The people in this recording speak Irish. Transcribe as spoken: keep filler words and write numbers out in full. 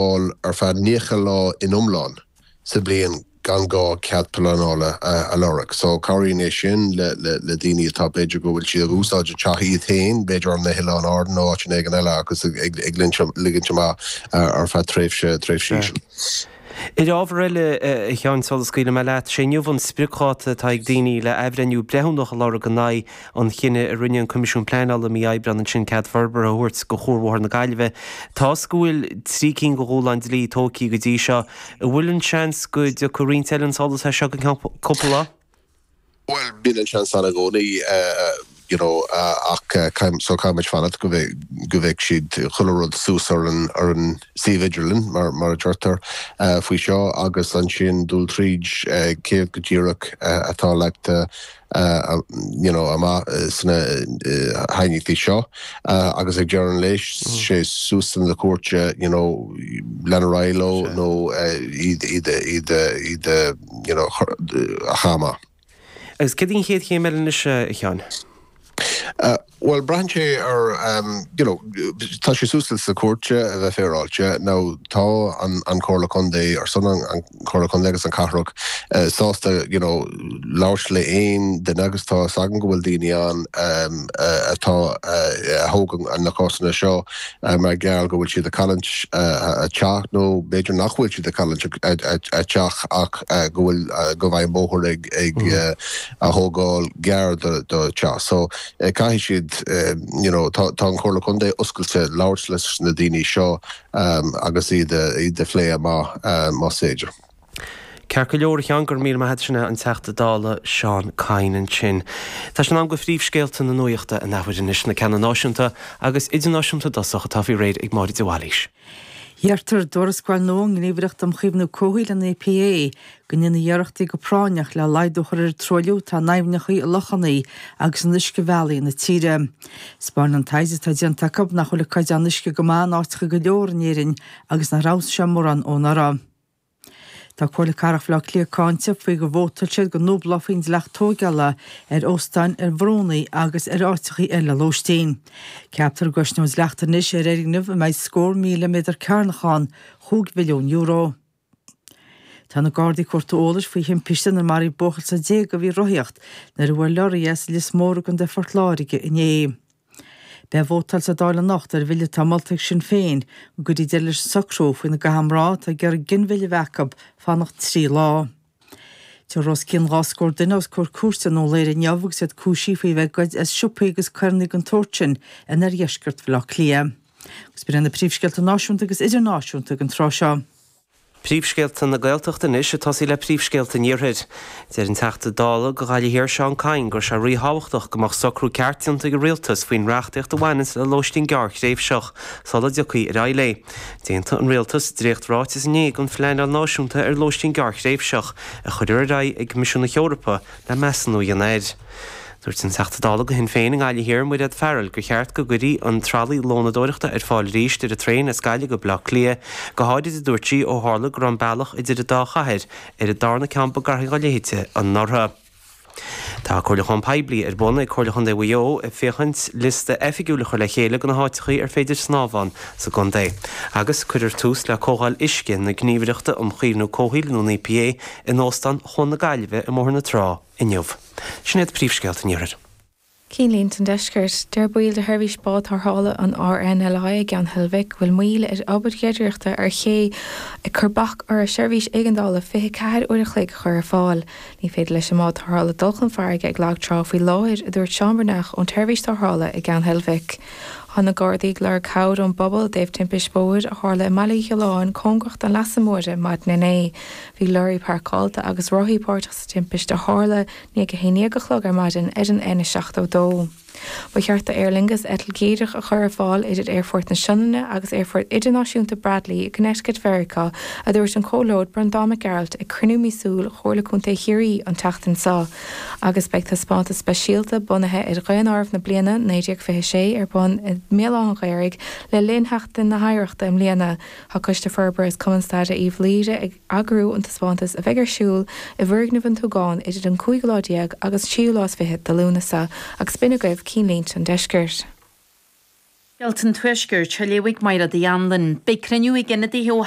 fáil ar feadh naocha lá in iomlán sa bhliain gan gá cead pleanála a lorg. So cabhraíonn é sin le le daoine atá b'fhéidir go bhfuil siad ag úsáid a teach iad féin, b'fhéidir ar na hOileáin Árann nó áit éigin eile agus ag ag ligint amach ar feadh tréimhse tréimhse íseal. Ar ábhar eile, a Sheáin, sula scaoilfidh mé leat, sé inniu an spriocdháta atá ag daoine le athbhreithniú breithiúnach a lorg in aghaidh an chinnidh a rinne an Coimisiún Pleanála mí Aibreáin ansin cead forbartha a thabhairt do Chuar Bhóthar na Gaillimhe. Tá's go bhfuil trí cinn de dhúshláin dlí tógtha go dtí seo. An bhfuil an seans go dtiocfaidh roinnt eile chun solais as seo go ceann cúpla lá? Bhuel, bíonn an seans ann i gcónaí, you know, ach so caithfidh muid fanacht go go bhfeicfidh siad chuile rud suas ar an ar an suíomh idirlín, mar mar a deirtear, faoi seo agus ansin dul tríd céard go díreach atá leagtha you know, amach sna haighneachtaí seo agus ag deireadh an lae sé suas na cúirte you know, lean ar aghaidh leo nó iad iad iad iad you know, a chaitheamh amach. Agus céard í an chéad chéim eile anois, a Sheáin? Bhuel, braitheann sé ar, you know, tá sé suas sa chúirt a bheith féaráilte. Now, tá an an Chomhairle Contae, ar son an Chomhairle Contae agus an Cathrach, sásta, you know, labhairt le aon duine agus tá fhios agam go bhfuil daoine ann atá, a thógann na cásanna seo mar gheall go bhfuil siad ag cailliúint a teach nó b'fhéidir nach bhfuil siad ag cailliúint a teach ach go bhfuil, go mbeidh bóthar ag ag a thógáil gar do do teach. So caithfidh siad, you know, tá an Chomhairle Contae oscailte labhairt leis na daoine seo agus iad iad a phlé amach más féidir. Ceart go leor, a Sheáin, go raibh míle maith agat. Sin é an Teachta Dála Seán Kyne ansin. Tá sé in am do phríomhscéalta na nuachta an athuair anois, na ceanna náisiúnta agus idirnáisiúnta i dtosach atá faoi réir ag Máire de Bhailís. Deirtear i dtuarascáil nua ón nGníomhaireacht um Chaomhnú Comhshaoil, an E P A, go ndéanfaí iarrachtaí go práinneach le laghdú a chur ar an truailliú atá in aibhneacha, i lochanna agus in uiscebhealaí na tíre. 'Spáineann an taighde atá déanta acu nach bhfuil an caighdeán uisce go maith in áiteacha go leor in Éirinn agus nár fheabhsaigh sé mórán ó anuraidh. Tá Comhairle Cathrach Bhaile Átha Cliath cáinte faoi gur vótáil siad go ndúblófaí an dleacht tóigeála ar óstáin ar bhrúnna agus ar áiteachaí eile lóistín. Ceaptar go gcosnóidh an dleacht anois ar fhoirgneamh a mbeidh scór míle méadar cearnach ann chúig mhilliún euro. Tá na Gardaí ag cuartú eolais faoi thimpiste inar maraíodh buachaill sna déaga a bhí ag rothaíocht nuair a bhuail leoraí é sa Lios Mór i gContae Phort Láirge inné. Beidh vótáil sa Dáil anocht ar bhille atá molta ag Sinn Féin go gcuirfí deireadh leis an socrú faoina gcaithfidh mná atá ag iarraidh ginmhilleadh a bheith acu fanacht trí lá. Tabharfar os cionn dhá scór duine os comhair cúirte i nDún Laoghaire inniu agus iad cúisithe faoi bheith ag goid as siopaí agus carranna den tsórt sin in oirdheisceart Bhaile Átha Cliath. Agus b'in iad na príomhscéalta náisiúnta agus idirnáisiúnta ag an tráth seo. Príomhscéalta na Gaeltachta anois, ag tosaí le príomhscéalta an Iarthair. Deir an Teachta Dála do Ghaillimh Thiar Seán Kyne go raibh sé ríthábhachtach go mbeadh socrú ceart déanta ag an Rialtas faoin reachtaíocht a bhaineanns le lóistín gearrthréimhseach sula dtiocfaí ar aghaidh léi. D'aontaigh an Rialtas dréacht-ráiteas inné don phleanáil náisiúnta ar lóistín gearrthréimhseach a chuirfear ar aghaidh ag Coimisiún na hEorpa le measúnú a dhéanamh air. Dúirt an Teachta Dála do Shinn Féin i nGaillimh Thiar, Mairéad Farrell, gur cheart go gcuirfí an tralaí lónadóireachta ar fáil arís ar an traein as Gaillimh go Baile Átha Cliath, go háirid, a dúirt sí, ó tharla go raibh an bealach idir an dá chathair ar an darna ceann ba gaire dá leithéide anuraidh. Tá comhairliúchán poiblí ar bun ag Comhairle Chontae Mhaigh Eo ag féachaint liosta oifigiúil a chur le chéile de na háiteachaí ar féidir snámh ann sa gcontae. Agus cuirfear tús le Comhdháil Uisce na Gníomhaireachta um Chaomhnú Comhshaoil nó an E P A in Óstán Chuan na Gaillimhe i mBóthar na Trá inniu. Sin iad príomhscéalta an Iarthair. Cinnlínte an Deiscirt. Deir baill de sheirbhís bád tarrthála an R N L I i gCeann Heilbhic go bhfuil moill ar obair ghearradóireachta ar ché ag cur bac orthu seirbhís éigeandála fiche ceathair uair a chloig a chur ar fáil. Ní féidir leis an mbád tarrthála dul chun farraige ag lag trá faoi láthair, a dúirt Seán Breathnach ón tseirbhís tarrthála i gCeann Heilbhic. Tá na Gardaí ag lorg cabhair ón bpobal i dtaobh timpist bóthair a tharla i mBaile Uí Ghiolláin cóngarach don Leasa Móire maidin inné. Bhí leoraí páirceáilte agus rothaí páirteach sa timpist a tharla i ndiaidh a haon déag a chlog ar maidin ar an N seachtó dó. Ba cheart do Aer Lingus eitilt dhíreach a chur ar fáil idir Aerfort na Sionainne agus Aerfort Idirnáisiúnta Bradley i gConnecticut Mheiriceá, a dúirt an Comhairleoir Breandán Mac Gearailt ag cruinniú míosúil Chomhairle Contae Chiarraí an tseachtain seo. Agus beidh taispeántas speisialta bunaithe ar dhaonáireamh na bliana naoi déag fiche sé ar bun i mBéal Átha an Ghaorthaidh le linn Sheachtain na hOidhreachta i mbliana. Tá Coiste Forbartha is Cumann Staire Uíbh Laoghaire ag eagrú an taispeántas a bheidh ar siúl i bhfoirgneamh an Túgáin idir an cúigiú lá déag agus tríú lá is fiche de Lúnasa, agus b'in agaibh cinnlínte an deiscirt. Scéalta an Tuaiscirt á léamh ag Máire Uí Anluain. Beidh cruinniú ag ionadaithe ó